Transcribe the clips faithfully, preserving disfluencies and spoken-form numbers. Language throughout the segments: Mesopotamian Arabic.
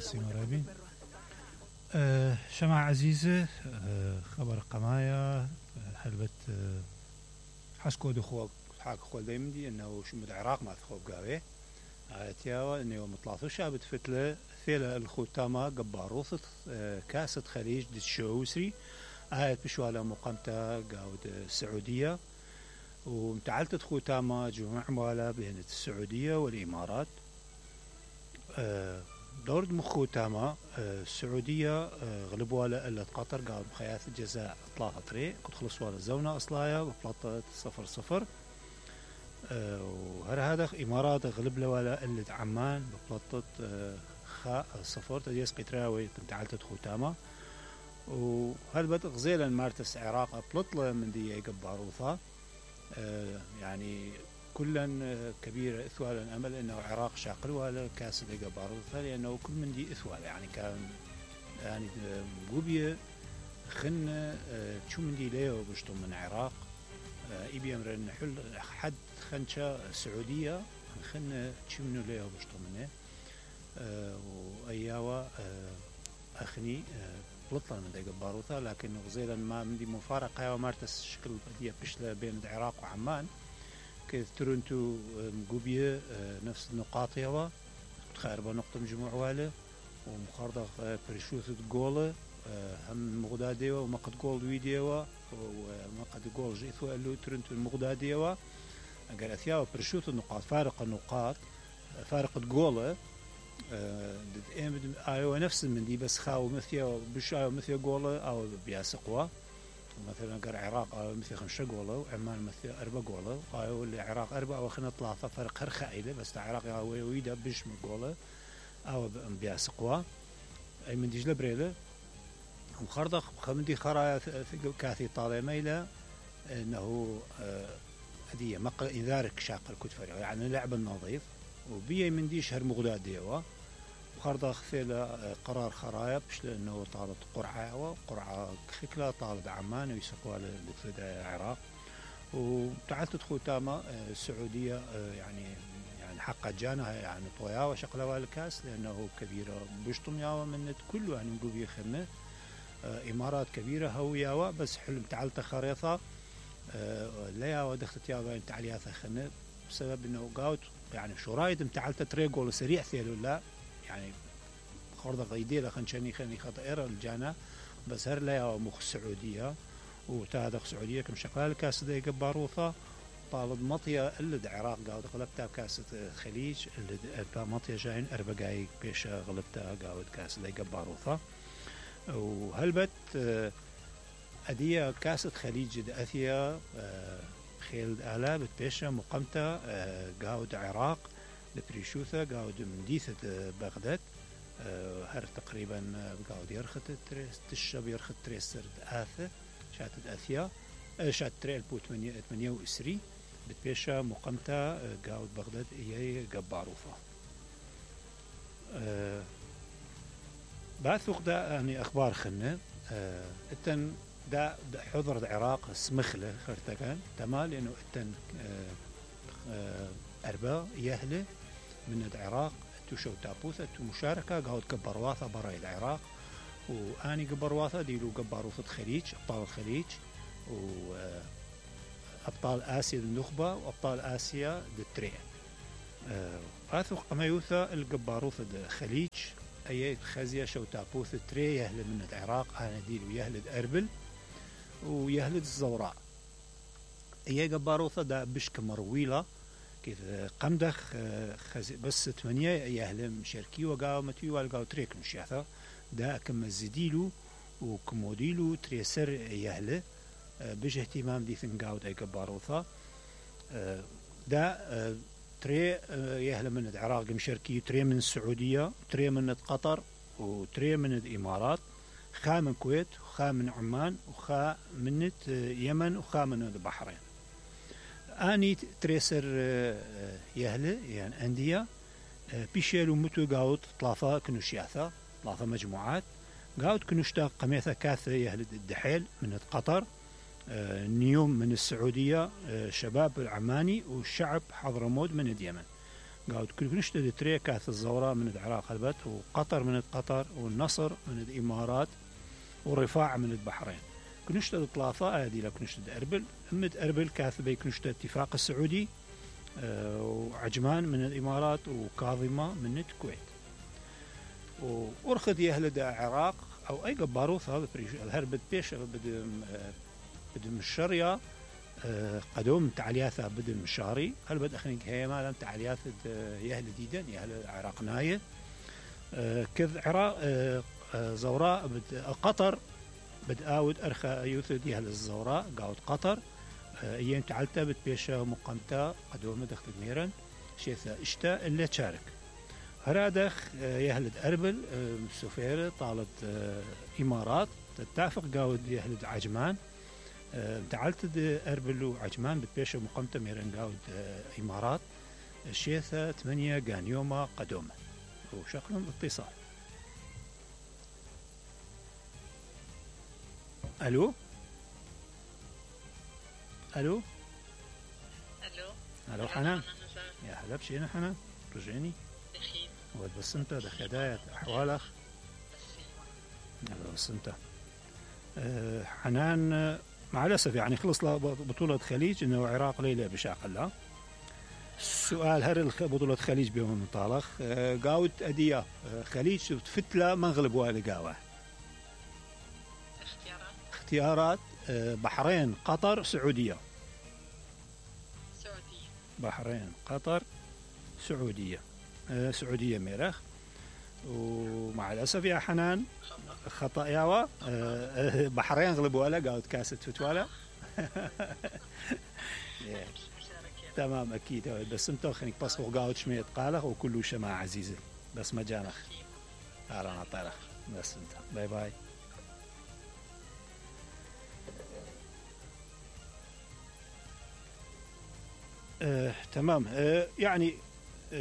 ميرسي مرابي. أه شمع عزيزة، أه خبر قمايا حلبت أه حسكو دخوك حاك خول دايمدي انه شو مد العراق ما تخوب قاوي عاتياوا انه يوم طلعتو شابت فتلة ثيلة الخوتاما قباروث أه كاسة خليج دي الشوسري آيت بشوالا مقامتا قاود السعودية ومتعلتت خوتاما جمع موالا بين السعودية والإمارات. أه دورد مخوتاما أه السعودية أه غلبوا إلا قطر قاود بخياث الجزاء ثلاثة طريق قد خلصوا على الزونة أصلايا وبلطت صفر صفر. أه وهر هذا إمارات غلب لوالا إلا عمان ببلطت أه خاء صفر تديس قتراوي متعلتت خوتاما. وهل بد غزيلا مارتس عراق بلطلة من دي قباروثا أه يعني كلا كبيرة إثوالا أمل أنه العراق شاقل ولا كاس اللي قباروثا لأنه كل من دي إثوال يعني كان يعني قوبية خن أه شو من دي ليه وبشتم من العراق أه إبي أمر نحل حد خنشة سعودية خن شو منو ليه وبشتم منه أه وأياوا أه أخني أه بلطلة من دي قباروثا لكن غزيلا ما من دي مفارقة ومارتس شكل بدية بشلة بين العراق وعمان كيف ترنتو مقوبية نفس النقاط يوا تخاربة نقطة مجموع واله ومخارضة بريشوثة جولة هم مغدادية ومقد جول ويديوا ومقد جول جيثوا اللي ترنتو المغدادية أجر أثياء بريشوثة النقاط فارق النقاط فارق الجولة أيوة نفس من دي بس خاو مثيا بش أيوة مثيا جولة أو بياسقوا مثلا قر العراق أو مثل خمسة جولة وعمان مثل أربعة جولة أو اللي العراق أربعة وخنا ثلاثة فرق هر خائلة بس العراق أو ويدا بش من جولة أو بياسقوا أي من ديجلة بريلة وخرطق خمدي خرايا كاثي طالع ميلة إنه هدية مقل إنذارك شاق الكتفر يعني لعب النظيف وبيه من ديش هر مغداد ديوا وخرطق خيلة قرار خرايا بش لأنه طالت قرعة وقرعة خكلة طالت عمان ويسقوا للفدا العراق وتعالت خوتاما السعودية يعني يعني حق جانا يعني طويا وشقلوا الكاس لأنه كبيرة بشتم ياوا من كله يعني نقول يخمه إمارات كبيرة هو ياوا بس حلم تعالت خريطة لا ياوا دخلت ياوا تعليات خنه بسبب إنه قاوت يعني شو رايد متعلت تريقول سريع ثيلو لا يعني خرطة غيدية خنشاني خني خطائر الجانا بس هر لا ياوا مخ السعودية وتادق سعودية كم شقال كاس دي قباروثا طالب مطية اللي العراق قاود غلبتها كاسة الخليج اللي مطية جاين أربقاي بيش غلبتها قاود كاس دي قباروثا. وهلبت أدية كاسة خليج أثيا خيل آلا بتبيشة مقامتة قاود عراق لبريشوثة قاود مديثة بغداد هر تقريبا قاود يرخت تشب يرخت تريسر آثة شاتت أثيا شات تريل بو ثمانية وعشرين بتبيشة مقامتة قاود بغداد إياي قباروفة. أه بعد ثوق دا يعني أخبار خنة أه التن دا, دا حضر العراق سمخلة خرتكان تمام لأنه التن أه أه أربعة يهلة من العراق تشو تابوثة مشاركة قاود قبرواثة براي العراق وآني قبرواثة ديلو قباروثة خليج أبطال الخليج وأبطال آسيا النخبة وأبطال آسيا التري أه آثوق أميوثة القباروثة الخليج أي خزية شو تابوث التري يهل من العراق أنا ديلو يهلد أربل ويهلد الزوراء أي قباروثة دا بشك مرويلة كيف قمدخ خزي بس ثمانية يهل مشاركي وقاو متي والقاو تريك مشياثة دا كم الزديلو وكموديلو تريسر يهل بش اهتمام دي ثنقاود أي قباروثة دا تري يهل من العراق مشاركي تري من السعودية تري من قطر وتري من الإمارات خا من الكويت وخا من عمان وخا من اليمن وخا من البحرين آني تريسر يهل يعني أندية بيشيلو متو قاود طلافة كنوشياثة طلافة مجموعات قاود كنوشتا قميثة كاثة يهل الدحيل من قطر نيوم من السعودية شباب العماني والشعب حضرموت من اليمن قاعد كل كنشتد تري كاث الزوراء من العراق هلبت، وقطر من قطر، والنصر من الإمارات، والرفاع من البحرين. كنشتد ثلاثة هذه لا كنشتد أربل، أمد أربل كاث بي كنشتد اتفاق السعودي، أه وعجمان من الإمارات، وكاظمة من الكويت. وأرخذ يهلد العراق أو أي قباروث هذا الهربت بيش بدم بدم الشرية أه قدوم تعلياثها بدم الشاري هل بد أخني هي ما لم تعلياث يهل ديدا يهل العراق ناية أه كذ عراق أه زوراء بد قطر بد آود أرخى يوثد يهل الزوراء قاود قطر أه أيام تعلتا بتبيشة مقامتا قدوم دخل ميرن شيثا اشتا اللي تشارك هرادخ يهلد أربل سفيرة طالت إمارات تتافق قاود يهلد عجمان تعلت أربل وعجمان بتبيشة مقامتا ميرن قاود إمارات الشيثة ثمانية قانيوما قدومة وشكلهم اتصال. ألو ألو ألو ألو حنان يا هلا بشينا حنان رجعني ود بس انت ده خدايا احوالك بس انت أه حنان مع الاسف يعني خلص له بطولة خليج انه العراق ليلة بشاق الله. السؤال هل بطولة خليج بيوم مطالخ أه قاود ادية أه خليج فتلة منغلب والي قاوة اختيارات اختيارات أه بحرين قطر سعودية. سعودية. بحرين قطر سعودية. أه سعودية ميرخ. ومع الأسف يا حنان خطأ ياوا أه بحرين غلبوا ولا قاعد كاسة فتوالا. تمام أكيد بس انتو خليك بصفوا قاعد شمية قالخ وكله شماعة عزيزة بس ما جانخ أهلا طارخ بس انت باي باي. أه تمام أه يعني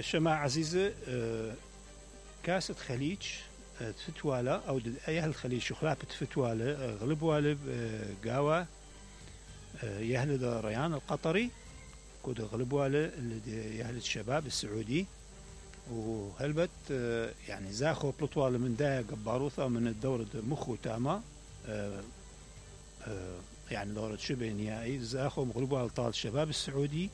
شماعة عزيزة أه كاسة خليج تفتوالا أو أيها الخليج شخلابة تفتوالا غلب والب قاوة يهل ريان القطري كود غلب والب يهل الشباب السعودي وهلبت يعني زاخو بلطوال من داية قباروثة من الدورة مخو تاما يعني دورة شبه نهائي زاخو غلب والب طال الشباب السعودي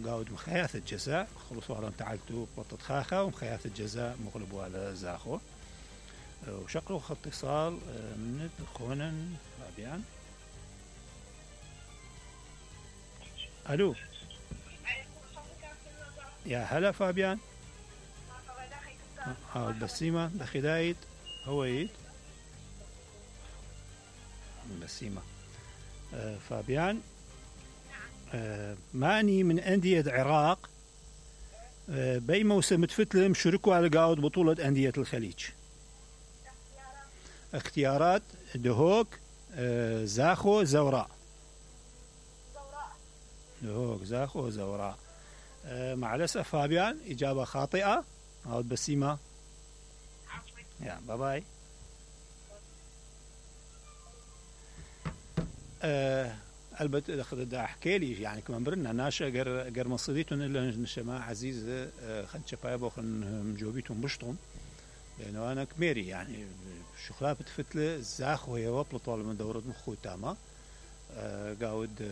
قاود مخياث الجزاء خلصوا على تعالتو بطة خاخة ومخياث الجزاء مغلبوا على زاخو وشقلوا خط اتصال من خونا فابيان. الو يا هلا فابيان اه البسيمة بخدايد هويد البسيمة آه فابيان آه ماني من أندية العراق آه بي موسم تفتلم شركوا على قاود بطولة أندية الخليج. اختيارات دهوك آه زاخو زوراء. دهوك زاخو زوراء آه مع الأسف فابيان إجابة خاطئة. عود بسيمة يا باي باي. آه البت اخذ احكي لي يعني كمان برنا ناشا غير غير مصيديتون الا نشما عزيز خن شباب خن مجوبيتهم بشطهم لانه انا كميري يعني شخلاب تفتله زاخ وهي وبل طول من دوره مخو تاما قاود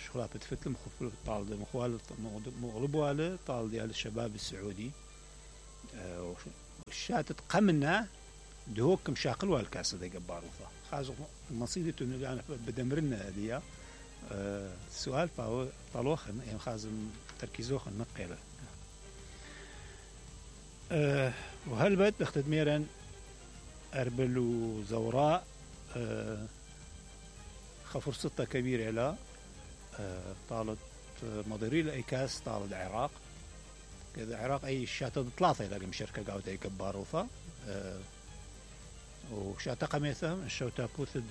شخلاب تفتله مخو طال مخوال مغلبوا طال ديال الشباب السعودي الشات قمنا دهوك مشاقل والكاسه دي قباروفه خازو مصيدتون اللي انا بدمرنا هذه أه السؤال فهو طالوخ يعني خازم تركيزوخ النقيلة أه وهل بد اختد ميرا أربل وزوراء أه خفر ستة كبيرة لا أه طالت مضيري الأيكاس طال العراق كذا العراق أي شاتة ثلاثة يلاقي مشاركة قاود أي كباروفة أه وشاتة قميثة الشوتا بوثد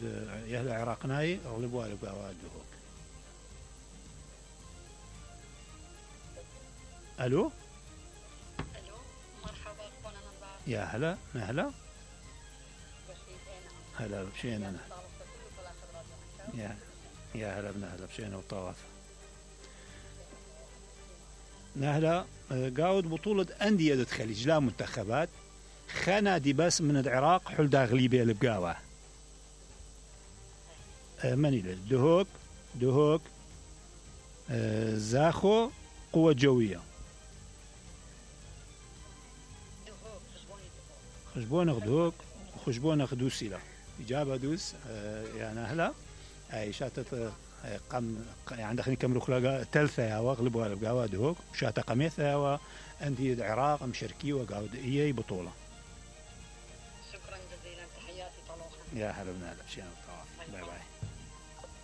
يهل العراق ناي أغلبوا على قاود دهوك. الو الو مرحبا اخونا نظار يا هلا هلا هلا بشينا انا يا يا هلا بنا هلا بشينا وطواف نهلا قاود بطولة أندية الخليج لا منتخبات خنادي بس من العراق حل داغلي بيه البقاوة مني له دهوك دهوك زاخو قوة جوية خشبونك دهوك وخشبونك دوسي له إجابة دوس يا نهلا أي شاتت قم يعني دخلني كم رخلاء ثالثة يا واغلبوا البقاوة دهوك وشاتا قميثة يا أندية العراق مشاركي وقاود إيه بطولة. شكرا جزيلا تحياتي طلوحا. يا هلا بنا هلا بشينا باي باي.